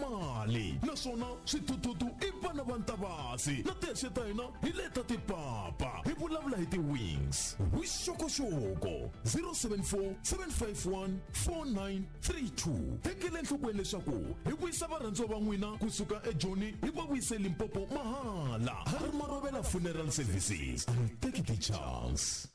mali naswona swithuthuthu i vana va ntavasi na tihexe ta hina hi leta tipapa hi vulavula hi ti-wings vuxokoxoko 074 751 4932 tekela enhlokweni leswaku hi vuyisa varhandziwa va n'wina kusuka ejoni hi va vuyise limpopo mahala ha ri marovela funeral services and take the chance.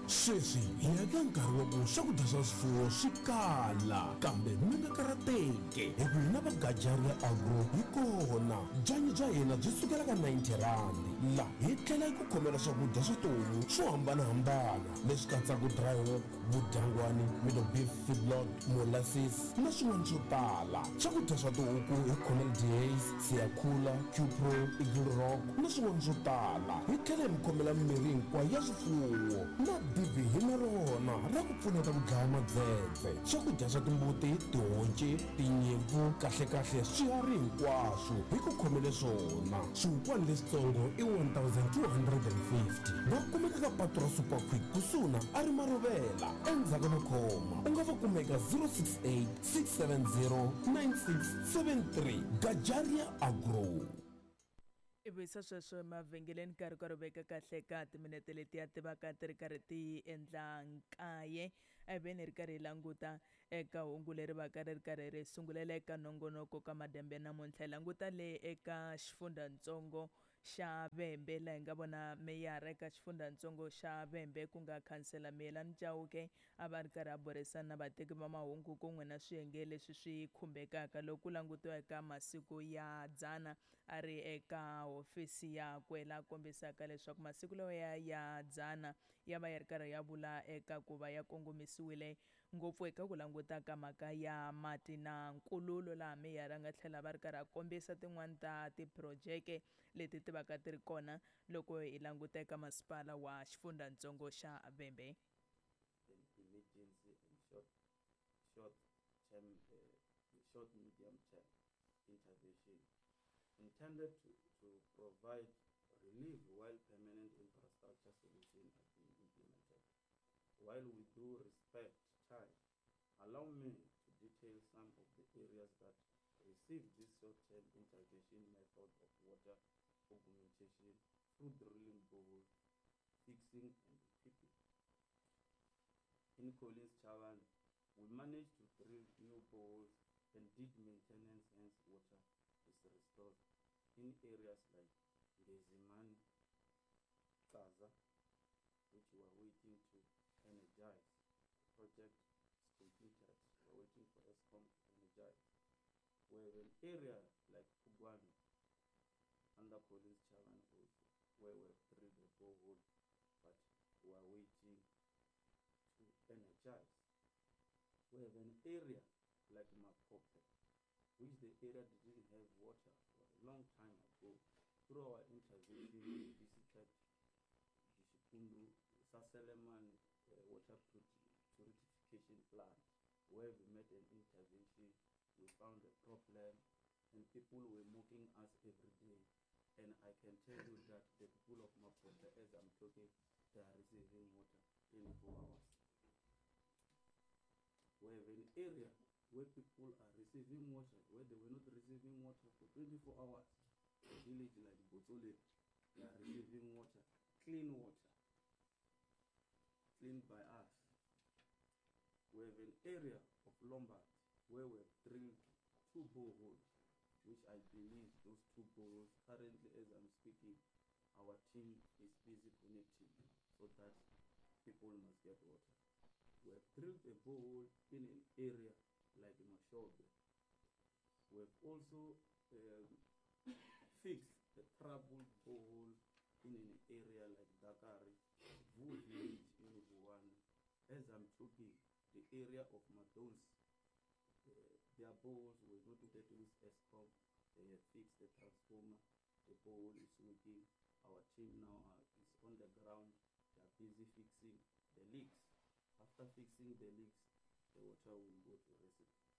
Sweswi hi ya ka nkarhi wa ku swakudya swa swifuwo swi kala, kambe mi nga karhateki hi ku hina va Gajaria Agro hi kona. Byanyi bya hina byi sukela ka 90 rhandi. La hi tlhela hi ku khomela swakudya swa tihomu swo hambanahambana leswi katsaka dry hog, vudyangwani, middle beef feedlot, molasses na swin'wana swo tala. Swakudya swa tihuku hi khomela Dehaze, Siyakhula, Qpro, Eagle Rock na swin'wana swo tala. Hi tlhela hi mi khomela mimirhi hinkwayo ya swifuwo na dibi hi na rona ra ku pfuneta ku dlaya madzedze. Swakudya swa timbuti, tihonci, tinyimpfu, kahle-kahle swiharhi hinkwaswo hi ku khomele swona. Swihukwana leswitsongo i 1250. Va kumeka ka patu ra Super Quick kusuhi na Ari Marovela endzhaku ka makhoma. U nga va kuma eka 068 670 9673. Gajaria Agro. I vuyisa sweswo emavhengeleni nkarhi karhi veka kahle ka timinete letiya ti va ka ti ri karhi ti endla nkaye. A hi veni hi ri karhi hi languta eka hungu leri va ka ri ri karhi ri sungulela eka nongonoko ka madyambu ya namuntlha. Hi languta le eka xifundzatsongo xa Vhembe laha hi nga vona meyara eka xifundzatsongo xa Vhembe ku nga khansela Miyelani Chauke a va ri karhi a burisana na vateki va mahungu kun'we na swiyenge leswi swi khumbekaka loko ku langutiwa eka masiku ya dzana a ri eka hofisi yakwe laha kombisaka leswaku masiku lawa ya dzana ya va ya ri karhi ya vula eka ku va ya kongomisiwile ngopfu eka ku languta ka mhaka ya mati na nkululo laha meyara a nga tlhela va ri karhi a kombisa tin'wani ta tiphurojeke leti ti vaka ti ri kona loko hi languta eka masipala wa xifundzatsongo xa Vhembe. An emergency and short, short term, short medium term intervention intended to provide relief while permanent infrastructure solutions are being implemented. While we do respect time, allow me to detail some of the areas that receive this short-term intervention method of water augmentation through drilling boreholes, fixing and equipping. In Collins Chabane, we managed to drill new boreholes and did maintenance, hence water is restored in areas like Ngezimani, Kaza, which we are waiting to energize. The project is completed. We are waiting for Eskom to energize. We have an area like Pugwani, under Collins Chabane also, where we have drilled a borehole, but we are waiting to energize. We have an area like Mapope, which the area didn't have water for a long time ago. Through our intervention, we visited the Shikundu Saseleman water purification plant, where we made an intervention. We found a problem, and people were mocking us every day. And I can tell you that the people of Mapope, as I'm talking, they are receiving water 24 hours. We have an area where people are receiving water, where they were not receiving water for 24 hours. A village like Botsole, they are receiving water, clean water, cleaned by us. We have an area of Lombard where we have drilled 2 boreholes, which I believe those 2 boreholes, currently as I'm speaking, our team is busy connecting so that people must get water. We have drilled a borehole in an area like Mashobe. We have also fixed a troubled borehole in an area like Dakari, Vu village in Vuwani. As I'm talking, the area of Madons, their boreholes were not that with Eskom. They have fixed the transformer. The borehole is working. Our team now is on the ground. They are busy fixing the leaks. After fixing the leaks, the water will go to residents.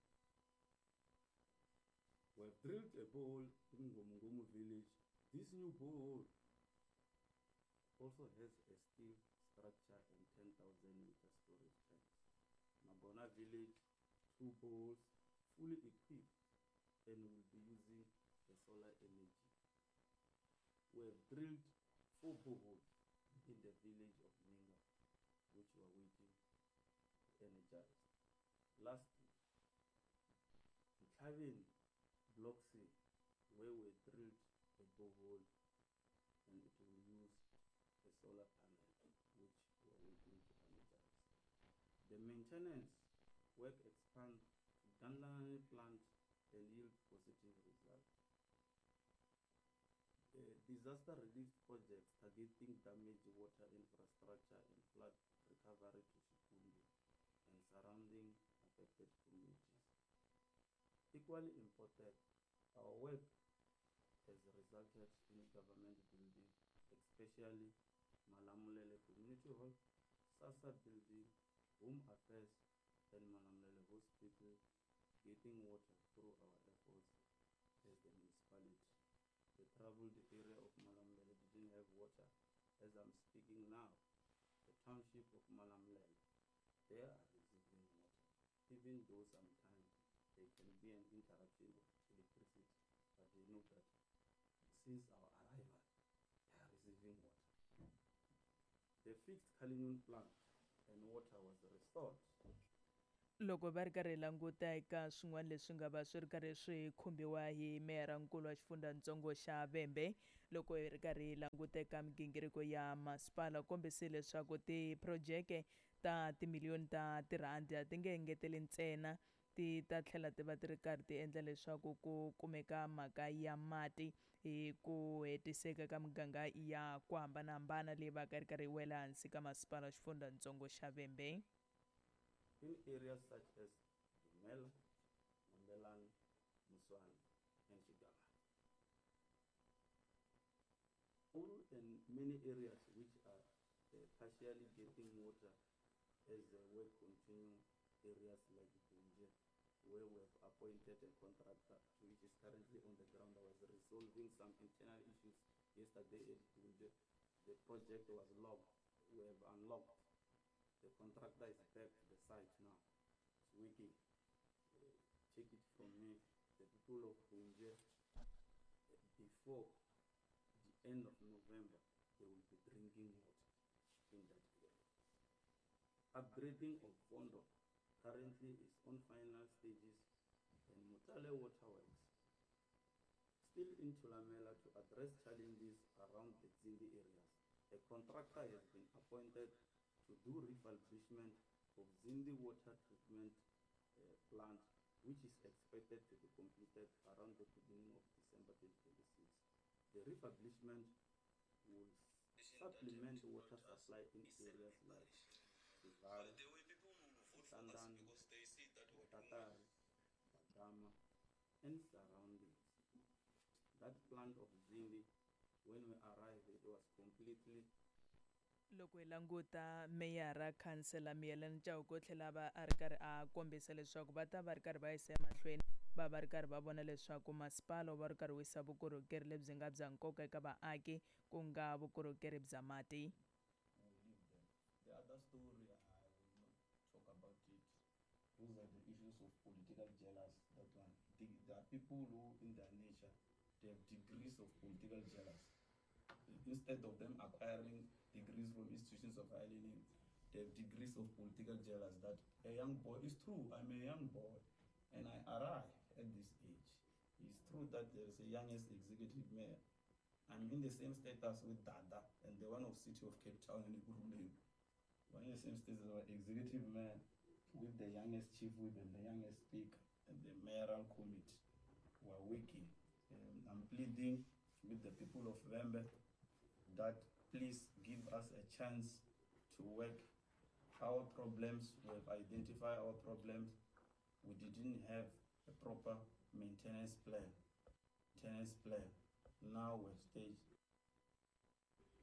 We have drilled a borehole in Ngomungomu village. This new borehole also has a steel structure and 10,000 meter storage tanks. Magona village, 2 boreholes, fully equipped and will be solar energy. We have drilled 4 boreholes in the village of Ninga, which we are waiting to energize. Lastly, Ntlhaveni Block C, where we drilled a borehole and it will use a solar panel, which we are waiting to energize. The maintenance work expands to Gandlelani plant and yield positive results. Disaster relief projects targeting damaged water infrastructure and flood recovery to Xikundu and surrounding affected communities. Equally important, our work has resulted in government building, especially Malamulele Community Hall, SASSA building, Home Affairs, and Malamulele Hospital getting water through our efforts as the municipality. The troubled area of Malamulele didn't have water. As I'm speaking now, the township of Malamulele, they are receiving water, even though sometimes there can be an interruption of electricity, but they know that since our arrival, they are receiving water. The fixed Cullinan plant and water was restored. Loko va ri karhi languta eka swin'wana leswi nga va swi ri karhi swi khumbiwa hi meyarankulu wa xifundzatsongo xa Vhembe, loko hi ri karhi languta eka migingiriko ya masipala, kombise leswaku tiphurojeke ta timiliyoni ta tirhandi a ti nge engeteli ntsena, ti ta tlhela ti va ti ri karhi ti endla leswaku ku kumeka mhaka ya mati hi ku hetiseka ka miganga ya ku hambanahambana leyi va ka ri karhi yi wela hansi ka masipala wa xifundzatsongo xa Vhembe. In areas such as Dumela, Mombelani, Muswana, and Xigavana. All and many areas which are partially getting water as the work continues, areas like Bunje, where we have appointed a contractor which is currently on the ground. I was resolving some internal issues yesterday at Bunje. The project was locked. We have unlocked. The contractor is back to the site now. It's working. Take it from me, the people of Bunje, before the end of November, they will be drinking water in that area. Upgrading of Vondo currently is on final stages, and Mutale Waterworks still in Thulamela to address challenges around the Dzindi areas. A contractor has been appointed to do refurbishment of Dzindi water treatment plant, which is expected to be completed around the beginning of December 2026. The refurbishment will supplement water supply in areas like Sivara, Tandani, Tatari, Badama, and surroundings. That plant of Dzindi, when we arrived, it was completely. Loko hi languta meyara khansela Miyelani Chauke u tlhela va a ri karhi a kombisa leswaku va ta va ri karhi va yisa emahlweni, va va ri karhi va vona leswaku masipala wu va ri karhi wu yisa vukorhokeri lebyi nga bya nkoka eka vaaki, ku nga vukorhokeri bya mati. The other story, I will not talk about it. Those are the issues of political jealousy. That one. There are people who, in their nature, they have degrees of political jealousy. Instead of them acquiring degrees from institutions of higher learning, they have degrees of political jealousy. That a young boy, it's true, I'm a young boy, and I arrive at this age. It's true that there is a youngest executive mayor. I'm in the same status with Dada and the one of City of Cape Town in Ekurhuleni. We're in the same status as our executive mayor with the youngest chief whip and the youngest speaker and the mayoral committee. We are working. I'm pleading with the people of Vhembe that please give us a chance to work our problems. We have identified our problems. We didn't have a proper maintenance plan. Now we've staged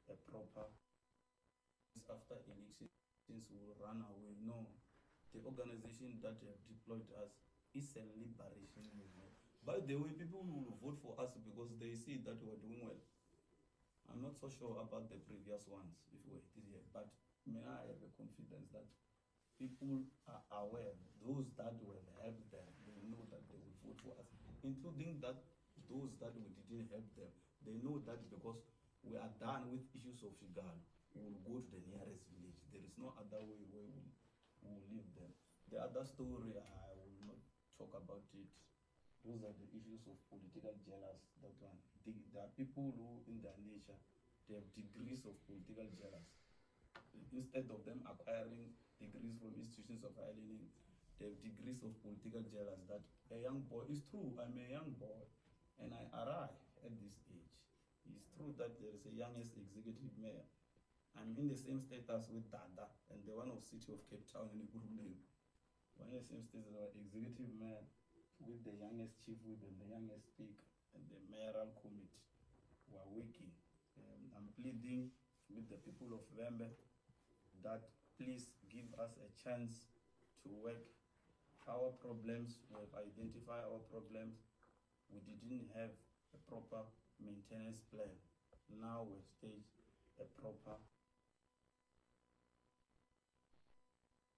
a proper. After elections will run away. No, the organization that have deployed us is a liberation movement. By the way, people will vote for us because they see that we are doing well. I'm not so sure about the previous ones, if we were this year, but may I have a confidence that people are aware, those that will help them, they know that they will vote for us, including that Those that we didn't help them, they know that because we are done with issues of Xigalo, we will go to the nearest village. There is no other way where we will leave them. The other story, I will not talk about it. Those are the issues of political jealousy. That one. There are people who, in their nature, they have degrees of political jealousy. Instead of them acquiring degrees from institutions of higher learning, they have degrees of political jealousy. That a young boy, it's true, I'm a young boy, and I arrive at this age. It's true that there is a youngest executive mayor. I'm in the same status with Dada and the one of City of Cape Town in Ekurhuleni. We're in the same status as our executive mayor with the youngest chief whip and the youngest speaker and the mayoral committee. We are working. I'm pleading with the people of Vhembe that please give us a chance to work our problems. We have identified our problems. We didn't have a proper maintenance plan. Now we've staged a proper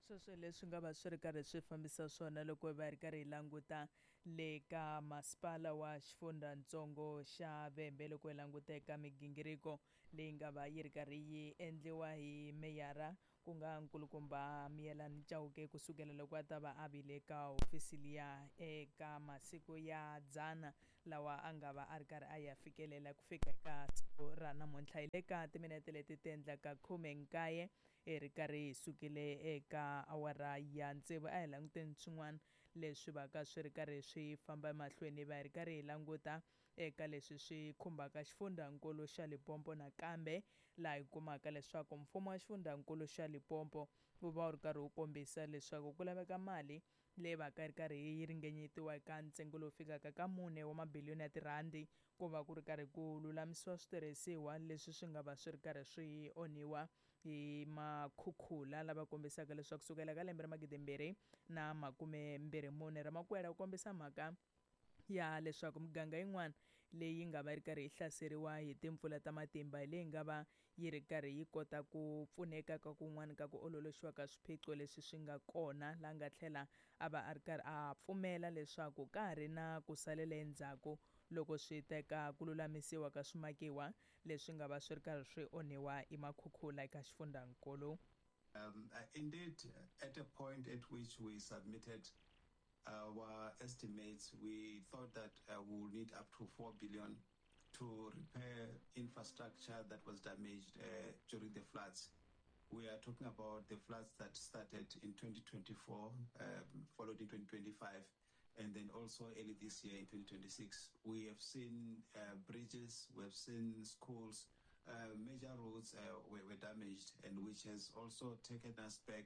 Sweswo leswi nga va swi ri karhi swi fambisa swona loko va ri karhi hi languta le ka masipala wa xifundzatsongo xa Vhembe, loko hi languta eka migingiriko leyi nga va yi ri karhi yi endliwa hi meyara, ku nga nkulukumba Miyelani Chauke, kusukela loko a ta va a vile ka hofisi liya eka masiku ya 100 lawa a nga va a ri karhi a ya fikelela ku fika eka siku ra namuntlha. Hi le ka timinete leti ti endlaka 19 hi ri karhi hi sukile eka awara ya 6. A hi languteni swin'wana leswi va ka swi ri karhi swi famba emahlweni, va hi ri karhi hi languta eka leswi swi khumbaka xifundzankulu xa Limpopo. Nakambe laha hi kumaka leswaku mfumo wa xifundzankulu xa Limpopo wu va wu ri karhi wu kombisa leswaku ku laveka mali leyi va ka yi ri karhi yi ringanyetiwa eka ntsengo lowu fikaka ka 4 wa mabiliyoni ya tirhandi ku va ku ri karhi ku lulamisiwa switirhisiwa leswi swi nga va swi ri karhi swi onhiwa hi makhukhula, lava kombisaka leswaku kusukela ka lembe ra 2024 Ramakwela u kombisa mhaka ya leswaku miganga yin'wana leyi nga va yi ri karhi yi hlaseriwa hi timpfula ta matimba hi leyi nga va yi ri karhi yi kota ku pfuneka ka kun'wana ka ku ololoxiwa ka swiphiqo leswi swi nga kona, laha nga tlhela a va a ri karhi a pfumela leswaku ka ha ri na ku salela endzhaku loko swi teka ku lulamisiwa ka swimakiwa leswi nga va swi ri karhi swi onhiwa hi makhukhula eka xifundzankulu. Indeed, at a point at which we submitted our estimates, we thought that we will need up to 4 billion to repair infrastructure that was damaged during the floods. We are talking about the floods that started in 2024, followed in 2025, and then also early this year in 2026. We have seen bridges, we have seen schools, major roads were damaged, and which has also taken us back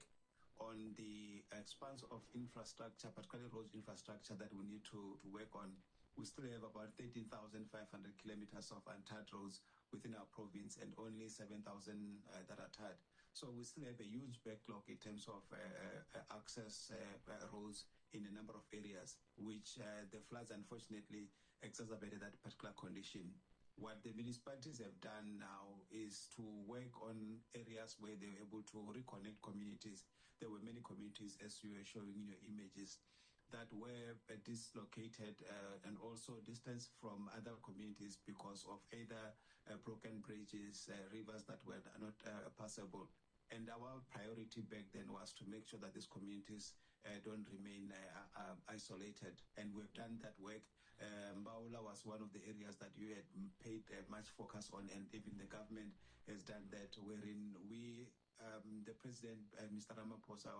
on the expanse of infrastructure, particularly road infrastructure, that we need to work on. We still have about 13,500 kilometers of untarred roads within our province and only 7,000 that are tarred. So we still have a huge backlog in terms of access roads in a number of areas, which the floods unfortunately exacerbated that particular condition. What the municipalities have done now is to work on areas where they were able to reconnect communities. There were many communities, as you were showing in your images, that were dislocated and also distanced from other communities because of either broken bridges, rivers that were not passable. And our priority back then was to make sure that these communities don't remain isolated. And we've done that work. Mbaula was one of the areas that you had paid much focus on, and even the government has done that, wherein we, the president, Mr. Ramaphosa,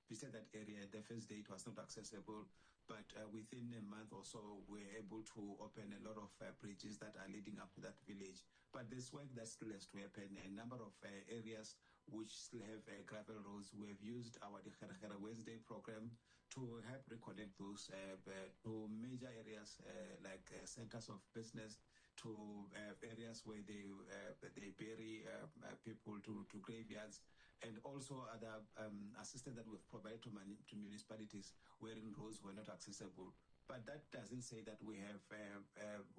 visited that area. The first day it was not accessible, but within a month or so, we were able to open a lot of bridges that are leading up to that village. But there's work that still has to happen. A number of areas which still have gravel roads. We have used our Dikgerekgere Wednesday program to help reconnect those to major areas like centers of business, to areas where they bury people, to graveyards, and also other assistance that we've provided to municipalities wherein roads were not accessible. But that doesn't say that we have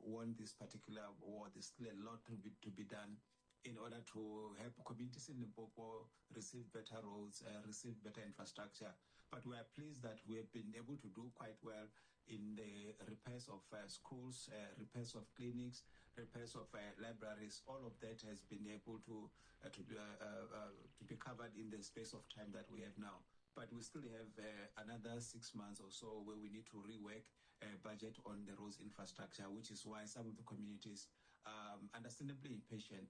won this particular war. There's still a lot to be done in order to help communities in Limpopo receive better roads, receive better infrastructure. But we are pleased that we have been able to do quite well in the repairs of schools, repairs of clinics, repairs of libraries. All of that has been able to to be covered in the space of time that we have now. But we still have another 6 months or so where we need to rework budget on the roads infrastructure, which is why some of the communities understandably impatient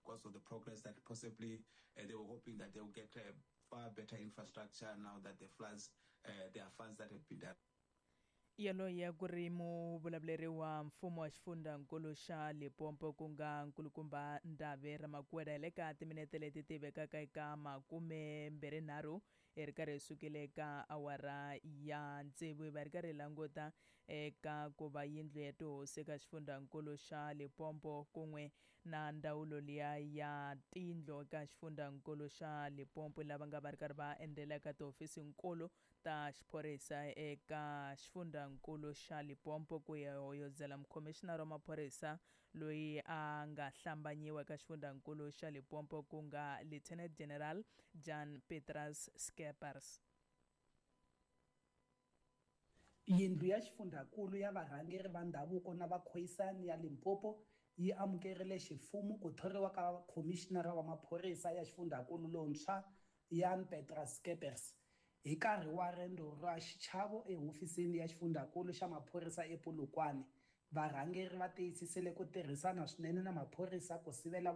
because of the progress that possibly they were hoping that they will get far better infrastructure now that the floods, there are funds that have been done. Yaloye ku ri muvulavuleri wa mfumo wa xifundzankulu xa Limpopo ku nga nkulukumba Ndhabe Ramakuela hi le ka timinete leti ti vekaka eka 23 hi ri karhi hi sukile eka awara ya tsevu hi va ri karhi hi languta eka ku va yindlu ya tihosi eka xifundzankulu xa Limpopo kun'we na ndzawulo liya ya tindlu eka xifundzankulu xa Limpopo lava nga va ri karhi va endzela eka tihofisinkulu ta xiphorisa eka xifundzankulu xa Limpopo ku ya hoyozela mukhomixinara wa maphorisa loyi a nga hlambanyiwa eka xifundzankulu xa Limpopo ku nga Lieutenant General Jan Petrus Skeepers. Yindlu ya xifundzankulu ya varhangeri va ndhavuko na vakhoisani ya Limpopo yi amukerile ximfumo ku thoriwa ka khomixinara wa maphorisa ya xifundzankulu lontshwa Jan Petrus Skeepers hi nkarhi wa rendzo ra xichavo ehofisini ya xifundzankulu xa maphorisa ePolokwane. Varhangeri va tiyisisile ku tirhisana swinene na maphorisa ku sivela.